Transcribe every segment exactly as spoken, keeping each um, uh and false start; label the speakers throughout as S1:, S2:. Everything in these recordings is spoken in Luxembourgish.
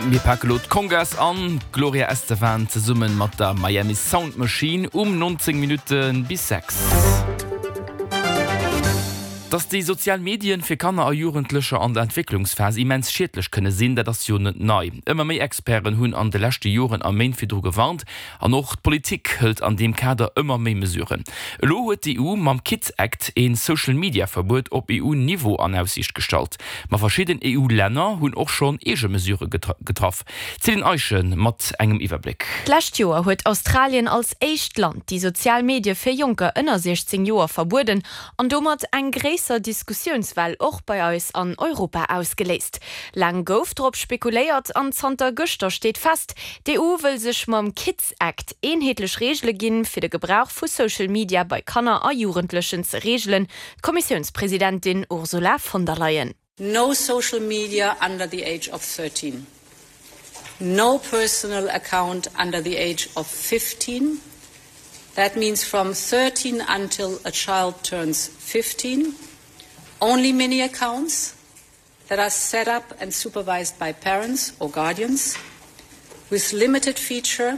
S1: Mir pake lo d'Congas an, Gloria Estefan zesumme mat der Miami Sound Machine um neunzéng Minutte bis sechs. Dass déi sozial Medien fir Kanner a Jugendlecher an der Entwécklungsphas immens schiedlech kënne sinn, dat ass jo net nei. Ëmmer méi Experten hunn an de leschte Joren a Méint virdru gewarnt an och d'Politik hëlt an deem Kader ëmmer méi Mesuren. Elo huet d'E U mam Kids Act een Social-Media-Verbuet op E U-Niveau an Aussiicht gestallt. Ma verschidden E U-Länner hunn och schonn eege Mesurë getraff. Céline Eischen mat engem Iwwerbléck.
S2: D'lescht Joer huet Australien als éischt Land déi sozial Medie fir Jonker ënner siechzéng Joer verbueden an domat eng gréisser Diskussiounswell och bei eis an Europa ausgeléist. Laang gouf drop spekuléiert an zanter gëschter steet fest, D'E U wëll sech mam Kids Act eenheetlech Reegele ginn, fir de Gebrauch vu Social Media bei Kanner a Jugendlechen ze reegelen, D'Kommissiounspresidentin Ursula von der Leyen.
S3: No social media under the age of thirteen. No personal account under the age of fifteen. That means from thirteen until a child turns fifteen. Only mini accounts that are set up and supervised by parents or guardians with limited feature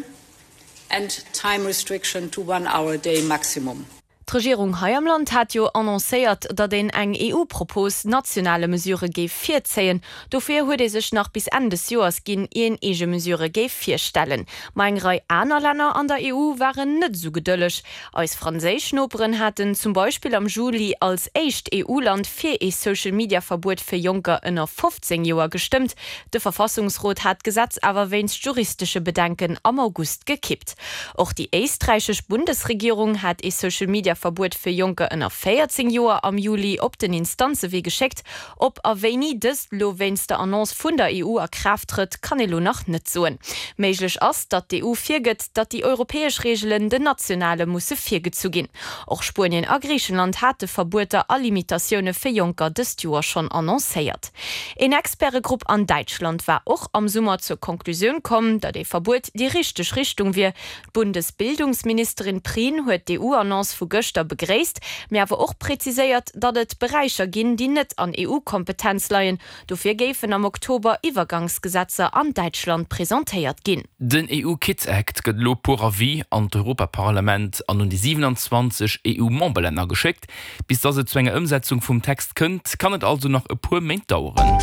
S3: and time restriction to one hour a day maximum.
S2: D'Regierung hei am Land hat jo annoncéiert, datt een eng E U-Propos nationale Mesurë géif virzéien. Dofir huet ee sech nach bis Enn des Joers ginn, ier een eege Mesurë géif virstellen. Ma eng Rei aner Länner an der E U waren net esou gedëlleg. Eis franséisch Noperen haten zum Beispill am Juli als éischt E U-Land fir ee Social-Media-Verbuet fir Jonker ënner fofzéng Joer gestëmmt. De Verfassungsrot hat d'Gesetz awer wéinst juristesche Bedenken am August gekippt. Och déi éisträichesch Bundesregierung hat ee Social-Media-Verbuet fir Jonker ënner véierzéng Joer am Juli op den Instanzewee geschéckt. Ob a wéini dëst lo wéinst der Annonce vun der E U a Kraaft trëtt, kann ee lo nach net soen. Méiglech ass, datt d'E U virgëtt, datt déi europäesch Reegelen den nationale musse virgezu ginn. Och Spuenien a Griichenland hate Verbueter a Limitatioune fir Jonker dëst Joer schonn annoncéiert. Een Expertegrupp an Däitschland war och am Summer zur Konklusioun komm, datt ee Verbuet déi richteg Richtung wier. D'Bundesbildungsministerin Prien huet d'E U-Annonce vu gëschter begréisst, mee awer och präziséiert, datt et Beräicher ginn, déi net an E U-Kompetenz leien. Dofir géifen am Oktober Iwwergangsgesetzer an Däitschland presentéiert ginn.
S1: Den E U Kids Act gëtt elo pour avis an d'Europaparlament an un déi siewenanzwanzeg E U-Memberlänner geschéckt. Bis datt et zu enger Ëmsetzung vum Text kënnt, kann et also nach e puer Méint daueren.